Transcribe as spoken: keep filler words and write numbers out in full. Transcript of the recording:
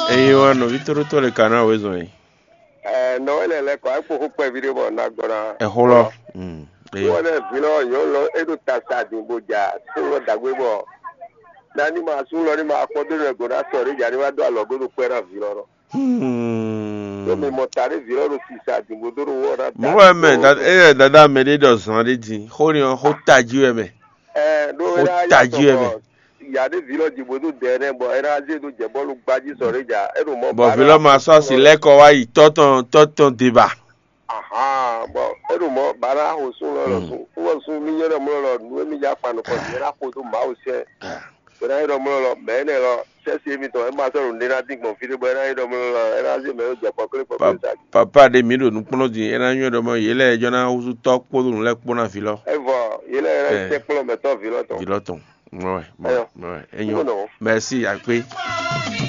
Eye wa nɔví tóɖótó le ka ná wezɔn yi. Ɛ nɔ wɛ lɛ lɛ kɔ akpo xó kpɛví ɖé bɔ na gbɔ na. Ɛxó lɔ. Mm. Eye. Wɔ lɛ vi lɔ nyɔ lɔ e ɖo tasa din bo ja sun lɔ dagbe bɔ. Na ni ma sun lɔ ni ma kpɔ do nɛ go na sɔ ɖe ja ni wa do alɔ go do kpɛ na vi lɔ nɔ. Hmm. Ɖo mi mɔ ta ɖe vi lɔ ɖo sisa din bo do ɖo wɔ na. Mo wɛ mɛ da eye dada mɛ ɖe ɖɔ zan ɖe din xó ni ɔ xó tají wɛ mɛ. Ɛ ɖo Xó e na tají ya wɛ mɛ. Sɔ ya ɖe vi lɔ din bo do dɛ nɛ bɔ e na zé do jɛ bɔlu gbaji sɔ ɖe ja e ɖo mɔ. Bɔ vi lɔ ma sɔ asi lɛ kɔ wá yi tɔtɔn tɔtɔn deba. Ahan bɔ e ɖo mɔ ba na xo sun lɔ lɔ sun wɔ sun mi nyɔ ɖɔ mɔ lɔ nu e mi ja kpa nukɔ si e na xo do mawu sɛ. E na yi ɖɔ mɔ lɔ mɛ enɛ lɔ sɛsi emitɔn e ma sɔ ɖo nɖe na dín gbɔn fi ɖe bɔ e na yi ɖɔ mɔ lɔ e na zé mɛ e jɛ kpɔkle kpɔkle sa. Papa ɖe mi ɖo nukplɔ́n din e na nyɔ ɖɔ mɔ yě lɛ jɔ na húzú tɔ́ kpódó nǔ lɛ́ɛ kpó ná vi lɔ. Evɔ yě lɛ yɛ sɛkplɔ́ mɛtɔ́ vi lɔ tɔn. Vi lɔ tɔn. Ouais, bon, Eyɔ. Ouais, enyo. Merci, akpe.